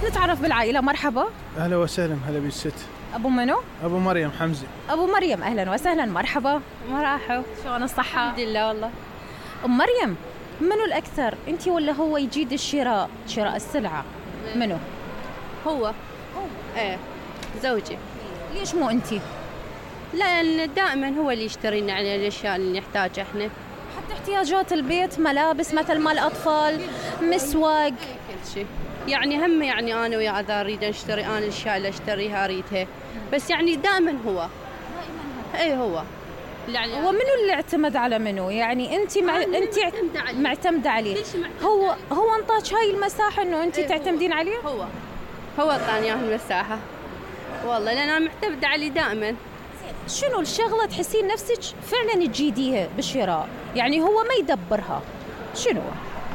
نتعرف بالعائلة. مرحبا. أهلا وسهلا. هلا بالست. أبو منو؟ أبو مريم حمزة. أبو مريم أهلا وسهلا. مرحبا. مرحبا. شلون الصحة؟ الحمد لله والله. أم مريم، منو الأكثر أنتي ولا هو يجيد شراء السلعة؟ منو؟ هو. ايه زوجي. ليش مو أنتي؟ لأن دائما هو اللي يشتري لنا على الأشياء اللي نحتاجها احنا. حتى احتياجات البيت، ملابس مثل مال الأطفال، مسواق، كل شيء. يعني هم يعني أنا وياه إذا أريد أشتري أنا الأشياء اللي أشتريها أريدها، بس يعني دائما هو. إيه هو. يعني ومنو اللي اعتمد على منو؟ يعني أنت معتمدة عليه. هو انطاك هاي المساحة إنه أنت تعتمدين عليه؟ هو أعطاني إياها المساحة. والله لأن أنا معتمدة عليه دائما. شنو الشغلة تحسين نفسك فعلا تجيديها بالشراء؟ يعني هو ما يدبرها. شنو؟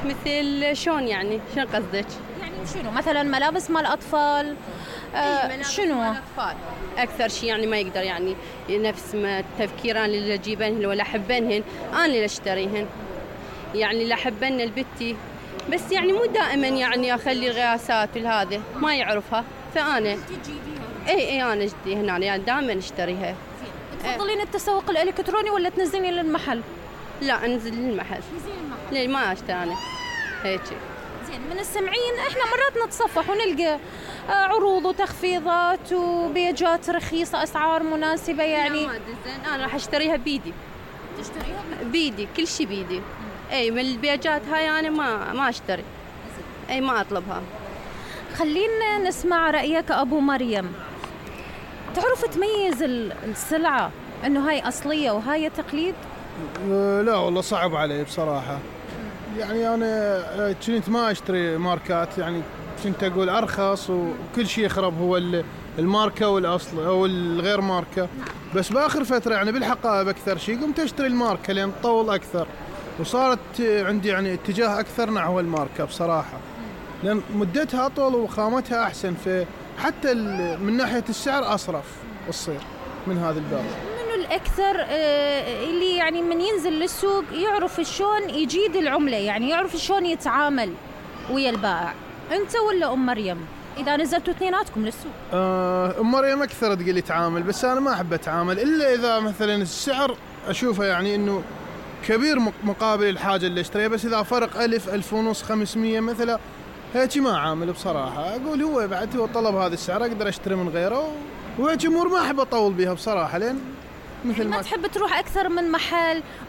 مثل شون يعني؟ شنو قصدك؟ يعني شنو مثلا ملابس مال أطفال؟ شنو؟ مال أطفال أكثر شيء يعني ما يقدر يعني نفس ما تفكيران اللي أجيبنهن ولا أحبنهن أنا اللي أشتريهن. يعني اللي أحبن البتي بس يعني مو دائما يعني أخلي الغياسات والهذا ما يعرفها فأنا اي انا جدي هنا يعني دائما اشتريها. تفضلين التسوق الالكتروني ولا تنزلين للمحل؟ لا انزل للمحل. ليه ما اشتري انا هيك. زين من السمعين احنا مرات نتصفح ونلقى عروض وتخفيضات وبيجات رخيصه اسعار مناسبه يعني. زين انا راح اشتريها بيدي. تشتريها بيدي كل شيء بيدي. اي من البيجات هاي انا ما اشتري. اي ما اطلبها. خلينا نسمع رأيك أبو مريم. تعرف تميز السلعة إنه هاي أصلية وهاي تقليد؟ لا والله صعب علي بصراحة. يعني أنا كنت ما أشتري ماركات، يعني كنت أقول أرخص وكل شيء يخرب هو الماركة والأصل أو الغير ماركة. بس بآخر فترة يعني بالحقائب أكثر شيء قمت أشتري الماركة لأن تطول أكثر وصارت عندي يعني اتجاه أكثر نحو الماركة بصراحة، لأن مدتها أطول وخامتها أحسن، حتى من ناحية السعر أصرف تصير من هذا الباب. منو الأكثر اللي يعني من ينزل للسوق يعرف شلون يجيد العملة، يعني يعرف شلون يتعامل ويا البائع، أنت ولا أم مريم؟ إذا نزلتوا اثنيناتكم للسوق. أم مريم أكثر تقول يتعامل، بس أنا ما أحب أتعامل إلا إذا مثلا السعر أشوفه يعني إنه كبير مقابل الحاجة اللي اشتريها، بس إذا فرق 1000 1500 500 مثلا هيك ما عامل بصراحة. أقول هو بعد هو طلب هذا السعر أقدر أشتري من غيره، وهيك أمور ما أحب أطول بها بصراحة، لين مثل ما تحب تروح أكثر من محل